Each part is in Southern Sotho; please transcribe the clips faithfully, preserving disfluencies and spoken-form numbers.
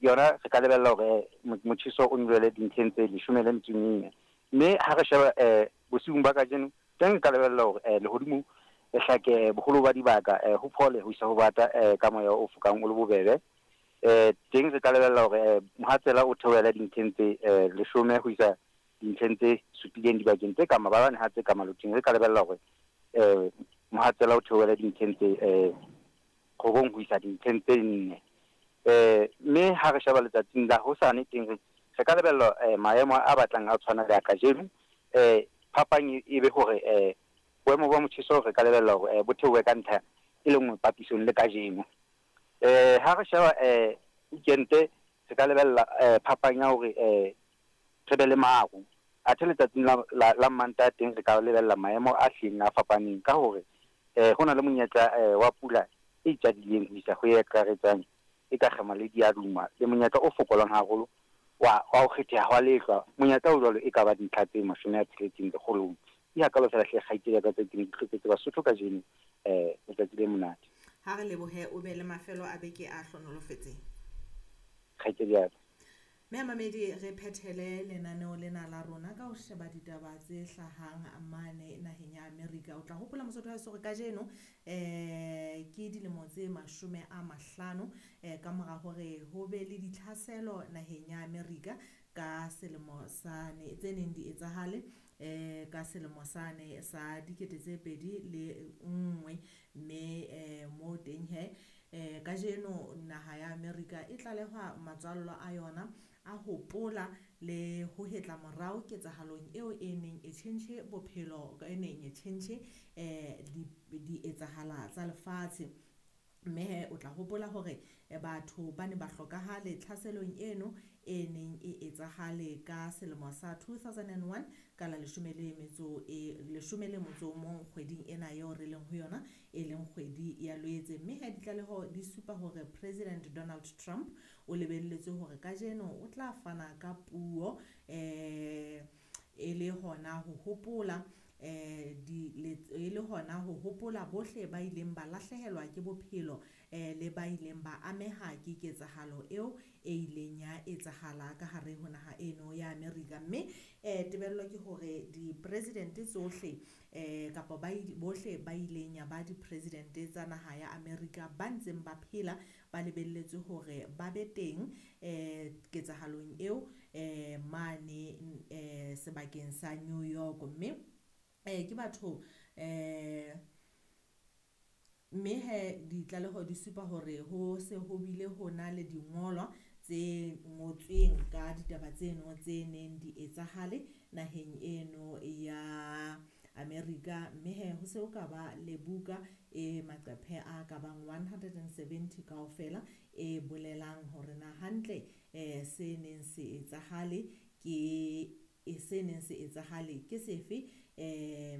Yona re ka lebella hore motjheso o nyolohele dintlheng tse leshome le metso e mene. Mme ha re sheba eh bosiung ba kajeno teng re ka lebella hore eh lehodimo le hlake boholo ba dibaka, eh ho phole ho isa ho bata eh ka moya o fokang o le bobebe. Eh teng re ka lebella hore eh mohatsela o theohele dintlheng tse eh leshome ho isa dintlheng tse supileng dibakeng tse ka mabalane ha tse ka maloting. Re ka lebella hore eh mohatsela o theohele dintlheng tse eh robong ho isa dintlheng tse nne. Eh mme ha re sheba letsatsing la hosane teng re re ka lebella eh maemo a batlang a tshwana le a kajeno. Eh phapang e be hore eh boemo ba motjheso re ka lebella hore eh bo theohe ka ntlha e le nngwe papisong le kajeno. Eh ha re sheba eh weekend re ka lebella eh phapang ya hore eh re be le maru. Athe letsatsing la la, la Mantaha teng re ka lebella maemo a hlileng a fapaneng ka hore eh ho na le monyetla eh wa pula e itjadileng ho isa ho e akaretsang e ka kgema le diaduma le monyetla o fokolang haholo wa wa ho kgetheha hwa lehlwa. Monyetla o jwalo e ka ba dintlha tse mashome a tsheletseng lekgolong. Ke hakalo fela hle kgaitsedi ya ka tse ke ne di hloketse Basotho kajeno eh letsatsi le monate. Ha re lebohe, o be le mafelo a beke a hlonolofetseng. Kgaitsedi ya ka. Mme mamedi, re phethele lenaneo lena la rona ka ho sheba ditaba tse hlahang mane naheng ya Amerika. O tla hopola Mosotho wa heso hore kajeno eh ke dilemo tse mashome a mahlano eh ka mora hore ho be le ditlhaselo naheng ya Amerika ka selemo sane tse neng di etsahale eh ka selemo sane sa dikete tse pedi le nngwe. Mme eh mo teng he eh kajeno naha ya Amerika e tlalehwa matswallo a yona a hopola le ho hetla morao ketsahalong eo e neng e tjhentjhe bophelo, e neng e tjhentjhe eh di di etsahala tsa lefatshe. Mme he o tla hopola hore batho ba ne ba hlokahale tlhaselong eno e neng e etsahale ka selemo sa two thousand and one ka la leshome le metso e leshome le motso o mong kgweding ena eo re leng ho yona, e leng kgwedi ya Loetse. Mme he ditlaleho di supa hore President Donald Trump o lebelletswe hore kajeno o tla fana ka puo eh e le hona ho hopola eh di e le hona ho hopola bohle ba ileng ba lahlehelwa ke bophelo eh le ba ileng ba ameha ke ketsahalo eo e ileng ya etsahala ka hare ho naha eno ya Amerika. Mme eh tebello ke hore di-president tsohle eh kapa ba bohle ba ileng ya ba di-president tsa naha ya Amerika ba ntseng ba phela ba lebelletswe hore ba be teng eh ketsahalong eo eh mane eh sebakeng sa New York. Mme eh ke batho eh mme he ditlaleho di supa hore ho se ho bile ho na le dingolwa tse ngotsweng ka ditaba tseno tse neng di etsahale naheng eno ya Amerika. Mme he ho se ho ka ba le buka e maqephe a ka bang one hundred and seventy kaofela e bolelang hore na hantle eh se neng se etsahale ke e se neng se etsahale ke sefe eh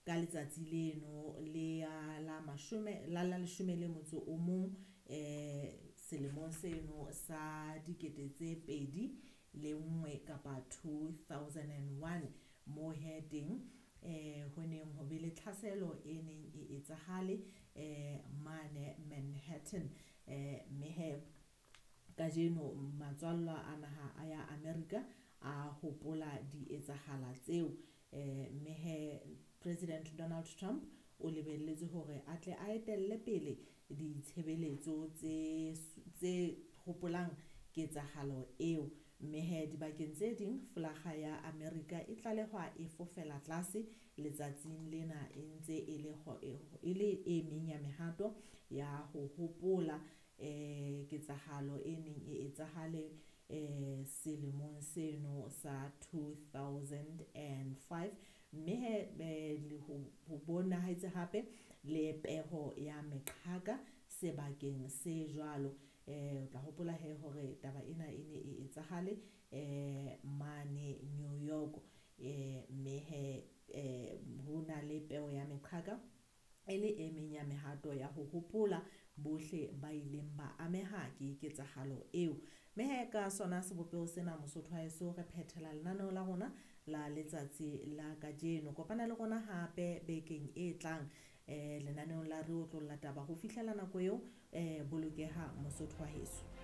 ka letsatsi leno le ya la mashome la la leshome le motso o mong eh selemong seno sa dikete tse pedi le nngwe kapa two thousand and one mo he teng eh ho neng ho be le tlhaselo e neng e etsahale eh mane Manhattan. Eh mme he kajeno matswallwa a naha a ya Amerika a hopola di etsahala tseo. Eh mme he President Donald Trump o lebelletswe hore a tle a etelle pele ditshebeletso tse tse hopolang ketsahalo eo. Mme he dibakeng tse ding folaga ya Amerika e tlalehwa e fofela tlase letsatsing lena e ntse e le e le e meng ya mehato ya ho hopola eh ketsahalo e neng e etsahale eh selemong seno sa two thousand and five. Mme he ho bonahetse hape le peho ya meqhaka sebakeng se jwalo. Eh o tla hopola he hore taba ena e ne e etsahale eh mane New York. Eh mme he eh ho na le peo ya meqhaka e le e meng ya mehato ya ho hopola bohle ba ileng ba ameha ke ketsahalo eo. Mme he ka sona sebopeho sena Mosotho wa heso re phethela lenaneo la rona la letsatsi la kajeno. Kopana le rona hape bekeng e tlang eh lenaneong la re otlolla taba. Ho fihlela nako eo eh bolokeha Mosotho wa heso.